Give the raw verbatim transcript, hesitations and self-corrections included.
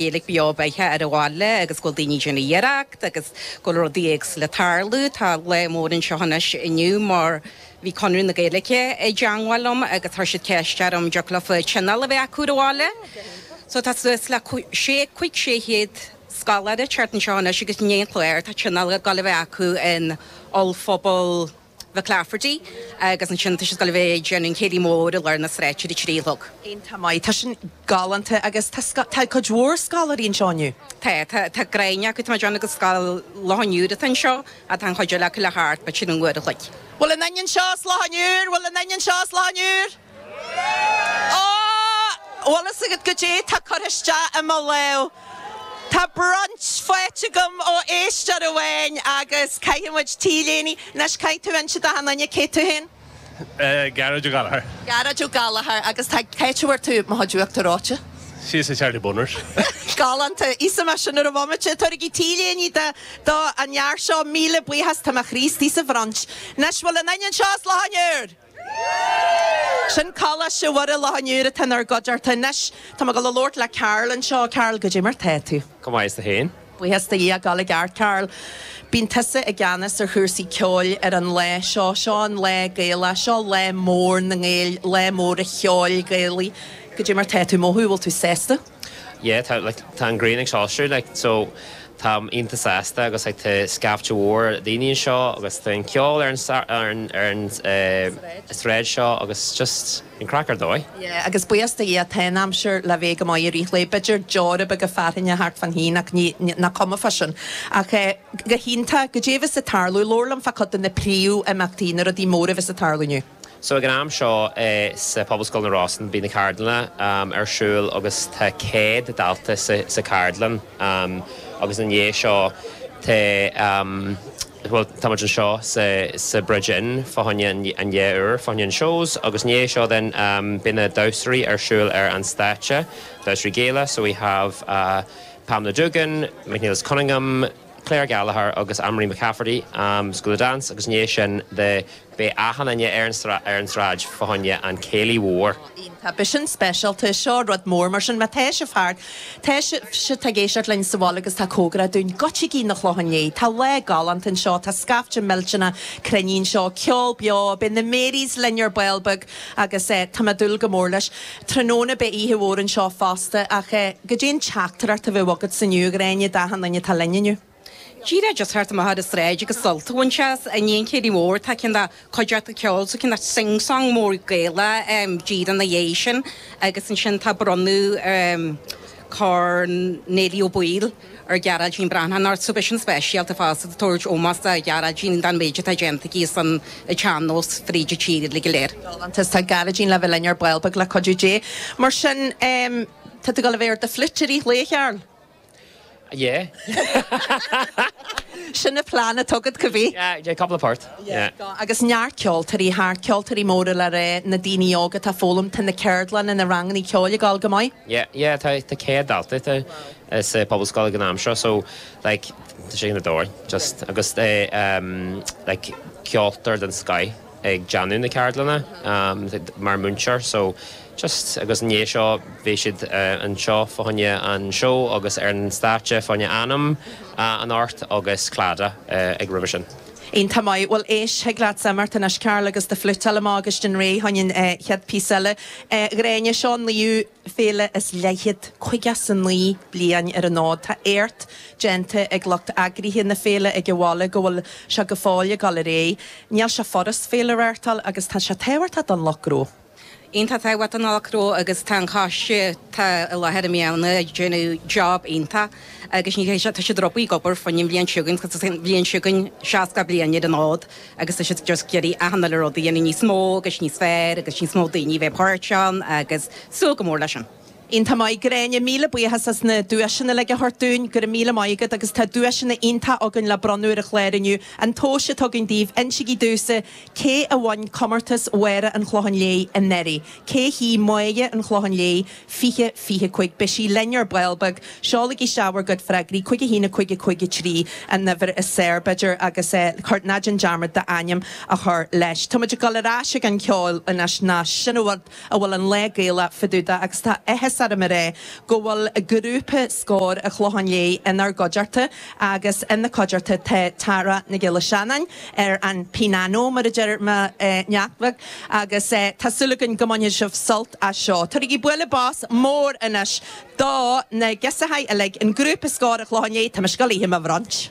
Gaeilge beo beatha ar an bhaile agus go bhfuil daoine ag déanamh iarracht agus go bhfuil rudaí éagsúla ag tarlú. Tá lá mór anseo anois inniu mar bhí Conradh na Gaeilge i dteagmháil liom agus chuir siad ceist orm dtiocfadh leofa tionól a bheith acu ar an bhaile. So tá suas le sé cúig sé chéad scoláire thart anseo anois agus ní cléir tá tionól ag dul a bheith acu in ollphuball McClafferty agus ansin tá siad ag dul a bheith ag déanamh an céilí mór i lár na sráide ar a trí a chlog. Iontach maith, tá sin galánta agus tá tá cuid mhór scoláirí anseo inniu. Tá tá tá gráinne acu tá déanamh go Scoil Loch an Iúir atá anseo atá an chuid eile acu le thart but sin an uair a chloig. Bhfuil aon duine anseo as Loch an Iúir, bhfuil aon duine anseo as Loch an Iúir? Ó! Bhfuil fhios agat goidé tá curtha isteach i mo lámh. Tá brunch faighte agam ó éisteoir amháin agus caithfidh muid t-léine. Anois caithfidh tú inse d'achan duine cé tú féin? Gearóid Ó Gallchóir. Gearóid Ó Gallchóir agus tá cá háit a bhfuair tú mo chuid uachtar reoite? Síos i Charlie Boners. Galánta. Íosfaidh mé sin ar an bhomaite. Tabhairigí t-léine do do an fhear seo. Míle buíochas, tá mo chroí istigh sa bhrunch. Anois bhfuil aon duine anseo as Loch an Iúir? Sin Coláiste Mhuire Loch an Iúir atá inár gcuideachta anois. Tá mé ag dul a labhairt le Carl anseo. Carl, goidé mar tá tú? Go maith is tú féin? Buíochas do Dhia, ag dul i gceart, Carl. Bíonn tusa i gceannas ar chúrsaí ceoil ar an lá seo. Seo an lá Gaelach, seo lá mór na nGael, lá mór an cheoil Ghaelaigh. Goidé mar tá tú ag mothú, bhfuil tú sásta? Yeah, tá like tá an ghrian ag soilsiú like so táim iontach sásta agus like tá scaifte mhór daoine anseo agus tá an ceol ar an ar an ar an sráid seo agus just an craic ar dóigh. Yeah, agus buíochas do Dhia tá an aimsir le bheith go maith i rith an lae. B'fhéidir deora beaga fearthainne thart fán haon ach ní nach cuma fá sin. Ach eh, go hiontach, goidé a bheas ag tarlú, labhair liom fá chuid de na príomhimeachtaí, na rudaí móra a bheas ag tarlú inniu. So ag an am seo eh, sa Pobalscoil na Rosann bíonn na ceardlanna um, ar siúl agus tá céad dalta sa, sa cheardlann um, agus an dhiaidh seo tá um, well, tá muid anseo sa, sa Bridge Inn fá choinne an, an dhá uair fá choinne an shows agus ndiaidh seo then um, bíonn na damhsóirí ar siúl ar an stáitse damhsóirí Gaelacha so we have uh, Pamela Dugan, McNeilis Cunningham, Claire Gallagher agus Anne-Marie McCafferty um, School of Dance agus ndiaidh sin de beidh achan duine ar an ar an sráid fá choinne an céilí mhór. Tá beidh sin speisialta seo rud mór mar sin má tá sibh thart Tá sibh ag éisteacht linn sa bhaile agus tá cóngarach dúinn goitsigí na Clochán Léith, Tá lá galánta anseo, tá scaifte millteanach cruinnithe anseo, ceol beo, beidh na Marys linn ar ball beag agus eh, tá mé ag dúil go mór leis. Tráthnóna beidh oíche mhór anseo fosta ach eh, goidé an teachtaireacht a bheadh agat inniu a Ghráinne d'achan duine atá linn inniu. Díreach just thart amach ar an sráid agus sult a bhaint as i ndiaidh an chéilí mhór tá ceann de cuideachta ceoil so ceann de sing-song mór Gaelach um, díreach ina dhiaidh sin agus ansin tá bronnadh um, Corn Néilí Ó Baoill ar Ghearóidín Breathnach so beidh sin speisialta fosta tabhairt ómós do Ghearóidín don méid atá déanta aici san tsean-nós fríd an tír le go léir. Galánta tá Gearóidín le bheith linn ar ball beag le cuidiú Dé. Mar sin um, tá tú ag dul a bheith ar do fliúit i rith an lae Charl. Yeah. Sin na plean atá agat cibé. Yeah, yeah, couple of part. Yeah. Agus neart ceoltóirí thart ceoltóirí móra le rá na daoine óga atá ag foghlaim tá na ceardlanna na ranganna ceoil ag dul go maith. Yeah, yeah, tá tá céad dalta tá sa Pobalscoil ag an am seo, so like tá sé ar dóigh just agus é um, like ceoltóir den scoth ag déanamh na ceardlanna um, mar múinteoir, so just agus ndiaidh seo bhí siad uh, anseo fá choinne an show agus ar an stáitse fá choinne Anam uh, anocht agus Claddagh uh, ag roimhe sin. Iontach maith bhfuil éis thig leat imeacht anois Carl agus do fhliúit amach agus den ré chuin chéad phíosa eile. Gráinne seo naoú féile is leithéid caoga is a naoi bliain ar an fhód. Tá éacht déanta ag lucht eagraithe na féile ag an bhaile go bhfuil sé go fóill ag dul ar aghaidh. Níl sé furast féile a reáchtáil agus tá sé tábhachtach don lucht gnó. Iontach tábhachtach don lucht gnó agus tá an coiste tá i láthair i mbliana ag déanamh job iontach agus ní tá siad ropaí gobar fan bhliain siúgan bhliain siúgan seasca bliain ar an fhód agus tá siad just ag iarraidh achan uile rud a dhéanamh níos mó agus níos fearr agus níos mó daoine bheith páirteach ann agus súil go mór leis sin. Iontach maith Gráinne míle buíochas as na duaiseanna le a thabhairt dúinn go raibh míle maith agat agus tá duaiseanna iontacha againn le bronnadh ar an chlár inniu. An tomhas atá againn daoibh insígí domhsa cé a bhain comórtas Mháire an Chlocháin Léith anuraidh. Cé hí Máire an Chlocháin Léith fiche fiche cúig beidh sí linn ar ball beag, seolaigí isteach bhur gcuid freagraí cúig a haon a cúig a cúig a trí an uimhir is saor b'fhéidir agus eh, ná déan dearmad d'ainm a chur leis. Tá muid ag dul ar ais ag an ceol anois ná sin a bhfuil an lá Gaelach fadúda agus tá áthas áthas orm a rá go bhfuil grúpa Scór an Chlocháin Léith inár gcuideachta agus ina gcuideachta tá Tara Nic Giolla Seanáin ar an pianó mar a deir mo neacht bheag agus tá súil againn go mbainfidh sibh sult as seo. Tabhairigí bualadh bos mór anois do na girseachaí uilig an grúpa Scór an Chlocháin Léith, tá mé ag goil iad a bhronnadh.